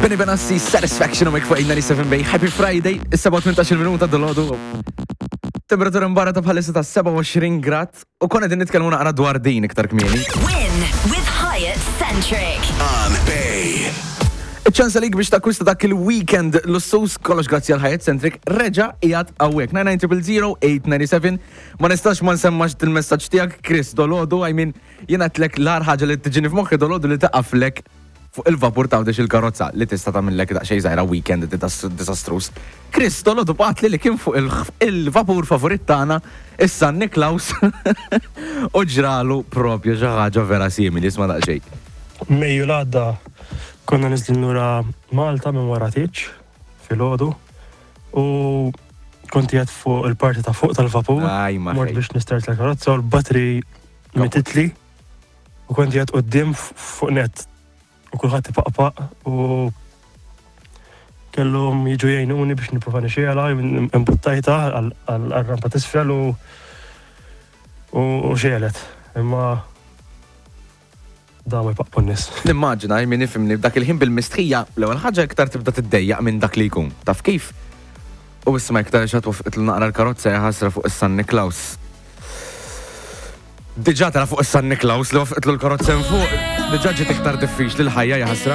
Benny Benassi, Satisfaction u fuq 97 Bay. Happy Friday, is-7:18 minuta dolodu. Temperatura mbarra ta' bħalissa ta' 27 grad u konna din nitkellmu naqra dwar din iktar kmieni. Win with Hyatt Centric. On Bay. Iċ-ċans għalik biex takkwista dak il-weekend lussus kollox grazzi għal Hyatt Centric reġa' qiegħed hawnhekk. 99000 Ma nistax ma nsemmax il-messaġġ tiegħek Chris dolodu, I mean, jiena tlek l-agħar ħaġa li tiġini f'moħħi dolodu li taqaflek fuq il-vapur ta' il-karozza li tista' tagħmillek daqsxejn żgħira weekend disastrous. Chris dolodu bagħatli li kien fuq il-vapur favorit tagħna is-San Niklaus u ġralu propju xi ħaġa vera simili, isma' daqsxejn. Mejju l-għadda konna niżlin lura Malta minn wara tieġ filgħodu u kont qiegħed fuq il-parti ta' fuq tal-vapur. Aj, ma Mort ħej. biex nistart l-karozza u l-battery mititli u kont qiegħed quddiem fuq net u kulħadd ipaqpaq u kellhom jiġu jgħinuni biex nipprova nixgħelha, imbuttajta għal-rampa t'isfel u xegħlet. Imma da ma jpaqpu n-nies. Nimmaġina, min ifhimni, dak il-ħin bil-mistħija, l-ewwel ħaġa iktar tibda tiddejjaq minn dak li jkun. Taf kif? U isma' iktar xat wafqitlu naqra l-karozza jaħasra fuq is-San Niklaus. Diġà tara fuq is-San Niklaus li wafqitlu l-karozza hemm fuq, diġà ġiet iktar diffiċli l-ħajja jaħasra.